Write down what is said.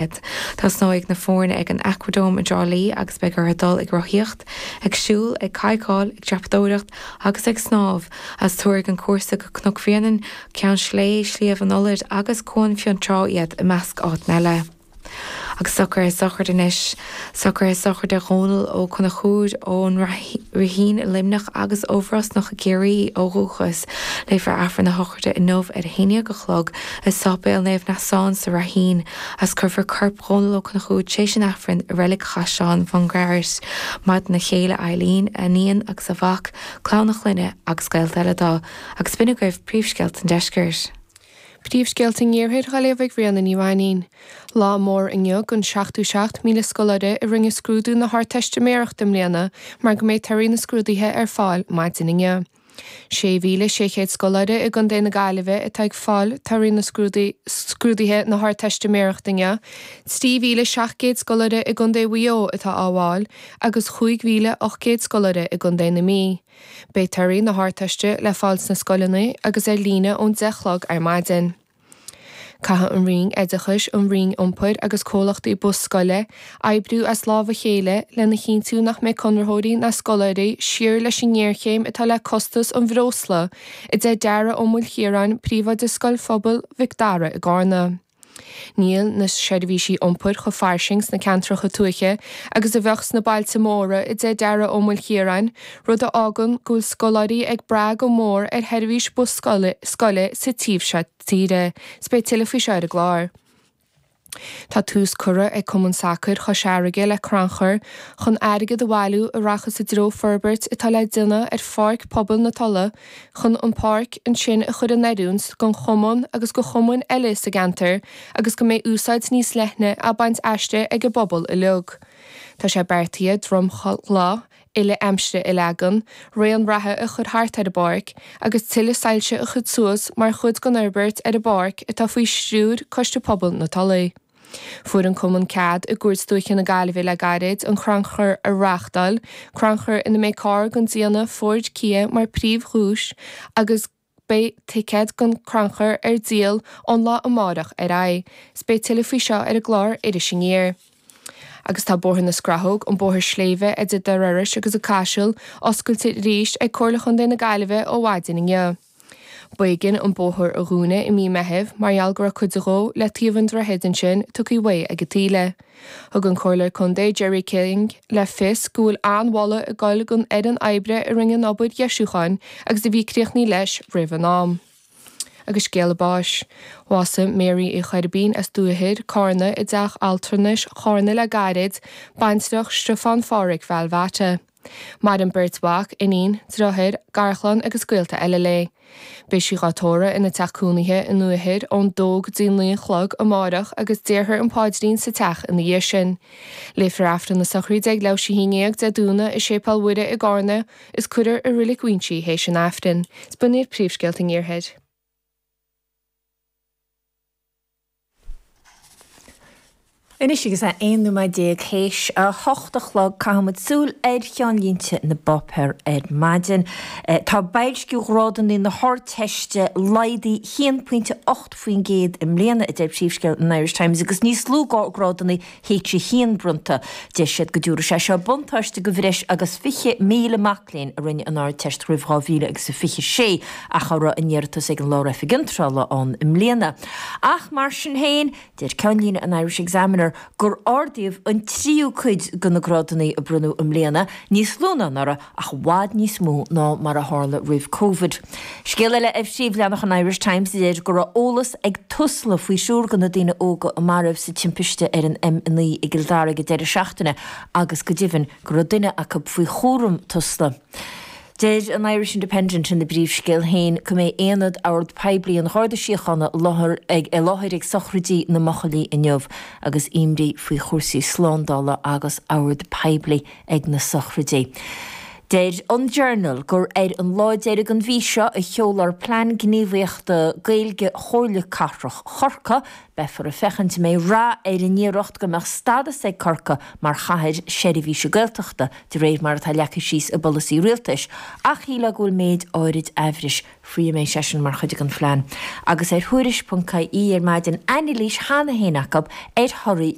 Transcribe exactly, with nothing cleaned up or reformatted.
Tosnóidh na foirne ag an Aquadome i dTrá Lí agus beidh orthu dul ag rothaíocht, ag siúl, ag cadhcáil, ag dreapadóireacht agus ag snámh, agus tabharfaidh an cúrsa go Cnoc Bhréanainn, Ceann Sléibhe, Sliabh an Ulaid agus Cuan Fionntrá iad i measc áiteanna eile. Agus socruithe sochraide anois. Socruithe sochraide Dhónal Ó Conchúir ón Rithín i Luimneach agus ó Bhrosnach i gCiarraí ó dhúchas. Léifear Aifreann na sochraide inniu ar a haon déag a chlog i Sáipéal Naomh Neasán sa Ráithín agus cuirfear corp Dhónal Ó Conchúir tar éis an Aifrinn i Reilig Chaisleán Bhun Garbhait. Maireann a chéile Eileen, a iníon agus a mhac, clann a chlainne agus gaolta eile dó. Agus b'in agaibh príomhscéalta an deiscirt. Príomhscéalta an iarthair á léamh ag Ríona Ní Mhainín. Lá mór inniu don seachtó seacht míle scoláire a rinne scrúdú na hArdteistiméireachta i mbliana mar go mbeidh torthaí na scrúduithe ar fáil maidin inniu. Sé mhíle sé chéad scoláire i gContae na Gaillimhe atá ag fáil torthaí na scrúduithe na hArdteistiméireachta inniu, trí mhíle seacht gcéad scoláire i gContae Mhaigh Eo atá á bhfáil agus chúig mhíle ocht gcéad scoláire i gContae na Mí. Beidh torthaí na hArdteiste le fáil sna scoileanna agus ar líne ón deich chlog ar maidin. Caithfidh an Roinn Oideachais, an Roinn Iompair agus comhlachtaí bus scoile oibriú as lámh a chéile lena chinntiú nach mbeidh conraitheoirí ná scoláirí siar leis an ngéarchéim atá le costas an bhreosla, a deir Dara Ó Maoilchiaráin, príomhoide Scoil Phobail Mhic Dara i gCarna. Níl na seirbhísí iompair chomh fairsing sna ceantracha tuaithe agus a bheadh sna bailte móra, a deir Dara Ó Maoilchiaráin, rud a fhágann go bhfuil scoláirí ag brath go mór ar sheirbhís bus scoile sa taobh seo tíre. 'S beidh tuilleadh faoi seo ar an gclár. Tá tús curtha ag Cumann Sacair Chois Fharraige le crannchur chun airgead a bhailiú a rachas i dtreo forbairt atá le déanamh ar Pháirc Pobail na Tulaí chun an pháirc ansin a chur in oiriúint don chumann agus do chumainn eile sa gceantar agus go mbeidh úsáid níos leithne á baint aisti ag an bpobal uilig. Tá sé beartaithe dromchla uile aimsire a leagan, raon reatha a chur thart ar an bpáirc agus tuilleadh soilse a chur suas mar chuid den fhorbairt ar an bpáirc atá faoi stiúir Coiste Pobail na Tulaí. Fuair an cumann cead i gCúirt Dúiche na Gaillimhe le gairid an crannchur a reáchtáil, crannchur ina mbeidh carr den déanamh Ford Kia mar príomhdhuais agus beidh ticéid don chrannchur ar díol ón lá amárach ar aghaidh. 'S beidh tuilleadh faoi seo ar an gclár Iris Aniar. Agus tá Bóthar na Scrathóg, an bóthar sléibhe idir Doire Iorrais agus an Caiseal, oscailte arís ag Comhairle Chontae na Gaillimhe ó mhaidin inniu. B'éigean an bóthar a dhúnadh i mí Meithimh mar gheall go raibh cuid dhó le taobh an droichid ansin tugtha uaidh ag an taoille. Thug an Comhairleoir Contae Gerry King le fios go bhfuil an-mholadh ag dul don fhoireann oibre a rinne an obair dheisiúcháin agus a bhí críochnaithe leis roimh an am. Agus scéala báis. Bhásaigh Mary Uí Choirbín as Dúiche, Carna i dteach altranais Charna le gairid, baintreach Stiofán Phádhraic Bhealbhata. Maireann beirt mhac, iníon, deartháir, garchlann agus gaolta eile léi. Beidh sí dhá tórramh ina teach cónaithe i nDúiche ón dó go dtí naoi a chlog amárach agus déarfar an paidrín sa teach ina dhiaidh sin. Léifear Aifreann na sochraide ag leathuair théis a haon déag Dé Domhnaigh i Séipéal Mhuire i gCarna is cuirfear i Reilig Mhuinsí théis an Aifrinn. 'S b'in iad príomhscéalta an iarthair. Anois agus é aon nóiméad déag théis a hocht a chlog, caithfimid súil ar cheannlínte na bpáipéar ar maidin. Tá boilsciú ghrádanna na hArdteiste laghdaithe haon pointe ocht faoin gcéad i mbliana, a deir príomhscéal an Irish Times, agus níos lú grádanna H a haon bronnta. Deir siad go dtabharfaidh sé seo buntáiste do bhreis agus fiche míle mac léinn a rinne an Ardteist roimh dhá mhíle agus a fiche sé ach a raibh a n-iarratas ag an Lár-Oifig Iontrála ann i mbliana. Ach mar sin féin, Deir ceannlíne an Irish Examiner gur ardaíodh an tríú cuid de na grádanna a bronnadh i mbliana, níos lú ná anuraidh ach i bhfad níos mó ná mar a tharla roimh Covid. Scéal eile ar phríomhleathanach an Irish Times a deir go raibh eolas ag Tusla faoi thriúr de na daoine óga a maraíodh sa timpiste ar an M a naoi i gCill Dara ag an deireadh seachtaine agus go deimhin go raibh duine acu faoi chúram Tusla. Deir an Irish Independent ina bpríomhscéal féin go mbeidh Aonad Ord Poiblí an Gharda Síochána i láthair ag sochraidí na mbuachaillí inniu agus imní faoi chúrsaí slándála agus ord poiblí ag na sochraidí. Deir an Journal gur ar an lá deiridh den mhí seo a sheolfar Plean Gníomhaíochta Gaeilge Chomhairle Cathrach Chorcaí. Beifear ag féachaint an mbeidh rath ar an iarracht go mbeadh stádas ag Corcaigh mar chathair seirbhíse Gaeltachta, de réir mar atá leagtha síos i bpolasaí rialtais, ach shílfeá go bhfuil méid áirid aimhris faoi an mbeidh sé sin mar chuid den phlean. Agus ar Thuairisc ponc ie ar maidin anailís cheana féin acu ar thorthaí